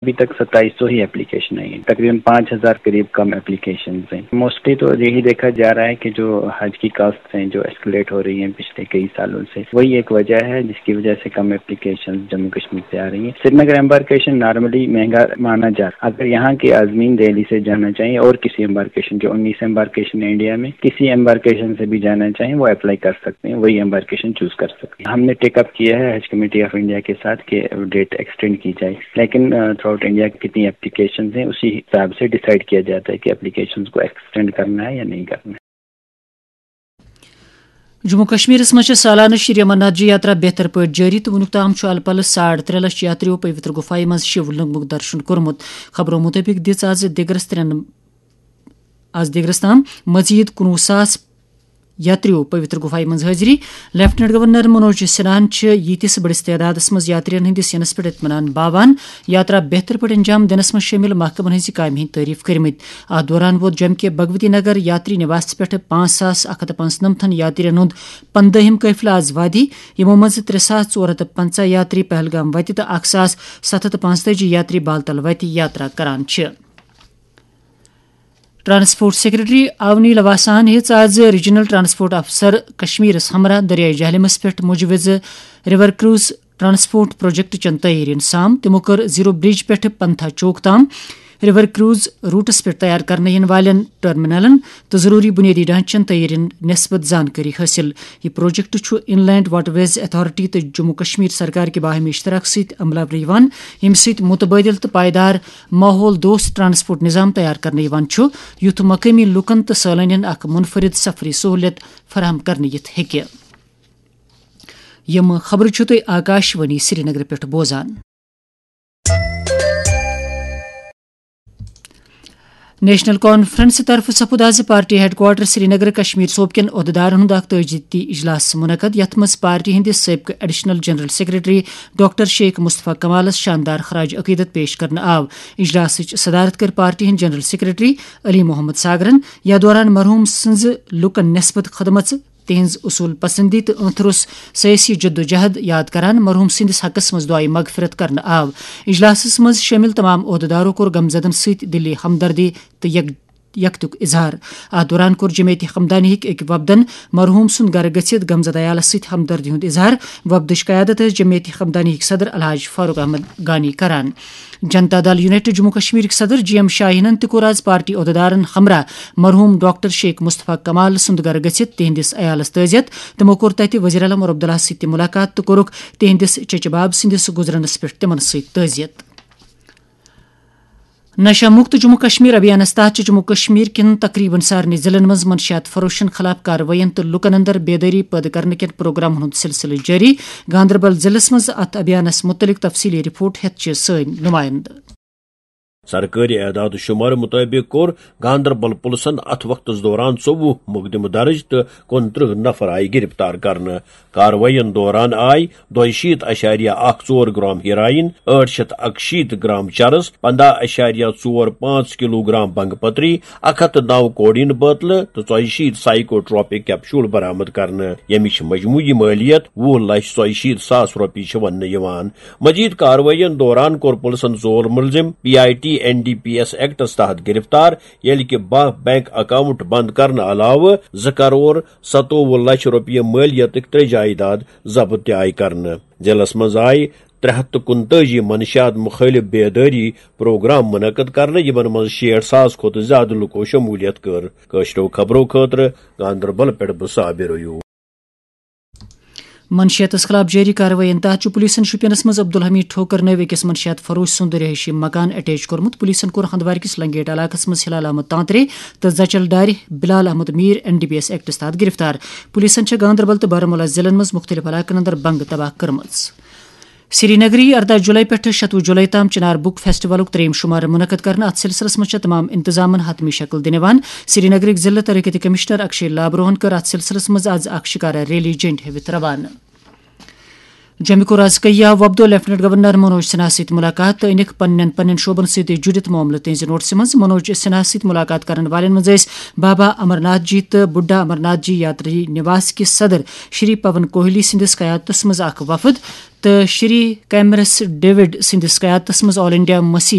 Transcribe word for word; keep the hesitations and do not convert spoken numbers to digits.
ابھی تک ستائیس سو ہی اپلیکیشن آئی ہیں، تقریباً پانچ ہزار قریب کم اپلیکیشن ہیں۔ موسٹلی تو یہی دیکھا جا رہا ہے کہ جو حج کی کاسٹ ہیں جو ایسکلیٹ ہو رہی ہیں پچھلے کئی سالوں سے، وہی ایک وجہ ہے جس کی وجہ سے کم اپلیکیشن جموں کشمیر سے آ رہی ہیں۔ سری نگر امبارکیشن نارملی مہنگا مانا جاتا ہے، اگر یہاں کے عازمین دہلی سے جانا چاہیں اور کسی امبارکیشن، جو انیس امبارکیشن ہے انڈیا میں، کسی امبارکیشن سے بھی جانا چاہیں وہ اپلائی کر سکتے ہیں، وہی امبارکیشن چوز کر سکتے ہیں۔ ہم نے ٹیک اپ کیا ہے حج کمیٹی آف انڈیا کے ساتھ کہ ڈیٹ ایکسٹینڈ کی جائے، لیکن تھرو آؤٹ انڈیا کتنی اپلیکیشن ہیں اسی حساب سے ڈیسائیڈ کیا جاتا ہے کہ اپلیکیشن کو ایکسٹینڈ کرنا ہے یا نہیں کرنا ہے۔ جموں کشمیرس منٛز چھِ سالانہٕ شری امرناتھ جی یاترا بہتر پٲٹھۍ جٲری تہٕ وُنیُک تام چھُ الہٕ پلہٕ ساڑ ترٛےٚ لچھ یاتریو پویتر گُفایہِ منٛز شِو لنگمُک درشن کوٚرمُت۔ خبرو مُطٲبِق دِژ آز دِگرس ترٛٮ۪ن آز دِگرس تام مزید کُنوُہ ساس یاتریو پویتر گُفایہِ منٛز حٲضری۔ لیفٹیننٹ گورنر منوج سنہاہن چھِ ییٖتِس بٔڑِس تعدادس منٛز یاترین ہٕنٛدِس یِنس پٮ۪ٹھ اطمینان باوان۔ یاترا بہتر پٲٹھۍ انجام دِنس منٛز شٲمِل محکمن ہٕنٛزِ کامہِ ہٕنٛدۍ تعریف کٔرمٕتۍ۔ اتھ دوران ووت جمکے بھگوتی نگر یاتری نواس پٮ۪ٹھ پانٛژھ ساس اکھ ہتھ تہٕ پانٛژنمتھن یاترین ہُنٛد پندٲہِم قٲفلہٕ آز وادی، یِمو منٛزٕ ترٛےٚ ساس ژور ہتھ تہٕ پنٛژاہ یاتری پہلگام وتہِ تہٕ اکھ ساس ستھ ہتھ تہٕ پانٛژتٲجی یاتری بالتل وتہِ یاترا کران چھِ۔ ٹرانسپورٹ سیکرٹری آونی لواساہن ہیٚژ آز ریجنل ٹرانسپورٹ افسر کشمیرس ہمراہ دریائے جہلمس پٮ۪ٹھ مجوزٕ ریور کروز ٹرانسپورٹ پروجیکٹ چن تیٲرین سام۔ تِمو کٔر زیرو برج پٮ۪ٹھ پنتھا چوک تام ریور کروز روٹس پٮ۪ٹھ تیار کرنہٕ یِنہٕ والٮ۪ن ٹرمینلن تہٕ ضروٗری بُنیٲدی ڈھانچن تیٲرین نسبت زانکٲری حٲصِل۔ یہِ پروجیکٹ چھُ ان لینڈ واٹر ویز اتھارٹی تہٕ جموں کشمیر سرکار کہِ باہمی اشتراک سۭتۍ عملاونہٕ یِوان، ییٚمہِ سۭتۍ متبادل تہٕ پائیدار ماحول دوست ٹرانسپورٹ نظام تیار کرنہٕ یِوان چھُ، یُتھ مقٲمی لوٗکن تہٕ سٲلٲنین اکھ منفرد سفری سہولت فراہم کرنہٕ یِتھ ہیٚکہِ۔ یِم خبرٕ چھِو تُہۍ آکاش وانی سرینگرٕ پٮ۪ٹھ بوزان۔ نیشنل کانفرنس طرفہٕ سپُد آز party headquarter Srinagar Kashmir صوبہٕ کٮ۪ن عہدٕدارن ہُنٛد اکھ تٲجدیدی اجلاس منعقد، یتھ منٛز پارٹی ہٕنٛدِس سٲبقہٕ additional general secretary doctor Sheikh Mustafa کمالس شاندار خراج عقیدت پیش کرنہٕ آو۔ اجلاسٕچ صدارت کٔر پارٹی ہٕنٛدۍ جنرل سیکرٹری علی محمد ساگرن۔ یتھ دوران مرحوم سٕنٛزِ لوٗکن نسبت خدمژٕ، تہنٛز اصول پسندی تہٕ ٲنتھرس سیٲسی جدوجہد یاد کران مرحوم سٕنٛدِس حقس منٛز دعائے مغفرت کرنہٕ آو۔ اجلاسس منٛز شٲمِل تمام عہدٕدارو کوٚر غمزدن سۭتۍ دِلی ہمدردی تہٕ یک یکتُک اظہار۔ اتھ دوران کوٚر جمعیت ہمدانی ہٕکۍ أکۍ وفدن مرحوم سُنٛد گرٕ گٔژھِتھ غمزدٕ عیالس سۭتۍ ہمدردی ہُنٛد اظہار۔ وفدٕچ قیادت ٲس جمعیت ہمدانی ہٕکۍ صدر الحاج فاروق احمد گانی کران۔ جنتا دل یونائٹڈ جموں کشمیرٕکۍ صدر جی ایم شاہینن تہِ کوٚر آز پارٹی عہدٕدارن ہمراہ مرحوم ڈاکٹر شیخ مصطفیٰ کمال سُنٛد گرٕ گٔژھِتھ تِہنٛدِس عیالس تعزیت۔ تِمو کوٚر تتہِ وزیر اعلیٰ عمر عبداللہ سۭتۍ تہِ ملاقات تہٕ کوٚرُکھ تِہنٛدِس چچہِ باب سٕنٛدِس گُزرنس پٮ۪ٹھ تِمن سۭتۍ تعزیت۔ نشہ مکت جموں کشمیر ابھیانس تحت چھِ جموں کشمیر کٮ۪ن تقریباً سارنٕے ضلعن منٛز منشیات فروشن خلاف کاروٲیین تہٕ لوٗکن اندر بیدٲری پٲدٕ کرنہٕ کٮ۪ن پروگرامن ہُنٛد سلسلہٕ جٲری۔ گاندربل ضلعس منٛز اتھ ابھیانس مُتعلق تفصیلی رپورٹ ہٮ۪تھ چھِ سٲنۍ نمائندٕ۔ سرکٲرۍ اعداد و شمار مطٲبق کوٚر گاندربل پُلسن اتھ وقتس دوران ژوٚوُہ مقدمہٕ درج تہٕ کُنترٕہ نفر آیہِ گرفتار کرنہٕ۔ کاروٲیین دوران آیہِ دۄیہِ شیٖتھ اَشاریہ اَکھ ژور گرام ہیرائن، ٲٹھ شیٚتھ اَکہٕ شیٖتھ گرام چرس، پنداہ اَشاریہ ژور پانٛژھ کلو گرام بنگ پتری، اکھ ہتھ تہٕ نو کوڈین بٲتلہٕ تہٕ ژۄیہِ شیٖتھ سائیکوٹروپک کیپشول برآمد کرنہٕ، ییٚمِچ مجموعی مٲلیت وُہ لچھ ژۄیہِ شیٖتھ ساس رۄپیہِ چھِ وننہٕ یِوان۔ مزید کاروٲیین دوران کوٚر پُلسن ژور مُلزِم P I T N D P S ایکٹس تحت گرفتار، ییٚلہِ کہِ باہ بینک اکاؤنٹ بند کرنہٕ علاوٕ زٕ کرور ستووُہ لچھ رۄپیہِ مٲلیتٕکۍ ترٛےٚ جائیداد ضبط تہِ آیہِ کرنہٕ۔ ضلعس منٛز آیہِ ترٛےٚ ہتھ تہٕ کُنتٲجی منشیات مُخٲلف بیدٲری پروگرام منعقد کرنہٕ، یِمن منٛز شیٹھ ساس کھۄتہٕ زِیٛادٕ لُکو شموٗلیت کٔر۔ کٲشرٮ۪و خبرو خٲطرٕ گاندربل پٮ۪ٹھ بہٕ صابر ایوب۔ منشیاتس خلاف جٲری کاروٲیین تحت چھُ پولیسن شوپینس منٛز عبدالحمید ٹھوکر نٲوۍ أکِس منشیات فروش سُنٛد رہٲیشی مکان اٹیچ کوٚرمُت۔ پولیسن کوٚر ہندوارکِس لنگیٹ علاقس منٛز ہلال احمد تانترے تہٕ زچل دارِ Bilal Ahmad Mir N D P S ایکٹس تحت گرفتار۔ پولیسن چھےٚ گاندربل تہٕ بارہمولہ ضلعن منٛز مُختٔلِف علاقن اندر بنگہٕ تباہ کٔرمٕژ۔ سرینگری، ارداہ جولائی پٮ۪ٹھٕ شتوُہ جولائی تام چنار بک فیسٹیولُک ترٛیٚیِم شمارٕ منعقد کرنہٕ۔ اتھ سلسلس منٛز چھےٚ تمام انتظامن حتمی شکل دِنہٕ یِوان۔ سرینگرٕکۍ ضلع ترقیتی کمشنر اکشے لابروہن کٔر اتھ سلسلس منٛز از اکھ شکارا ریلی جنڈ ہٲوِتھ روانہٕ۔ جمکو رازکیا وۄپدو لیفٹیننٹ گورنر منوج سنہا سۭتۍ ملاقات تہٕ أنِکھ پننٮ۪ن پننٮ۪ن شعبن سۭتۍ جُڑِتھ معاملہٕ۔ تِہنزِ نوٹسہِ منٛز منوج سنہا سۭتۍ ملاقات کرن والٮ۪ن منٛز ٲسۍ بابا امرناتھ جی تہٕ بُڈھا امرناتھ جی یاتری نواس کِس صدر شری پون کوہلی سٕنٛدِس قیادتس منٛز اکھ وفد تہٕ شری کیمرس ڈیوڈ سٕنٛدِس قیادتس منٛز آل انڈیا مسیح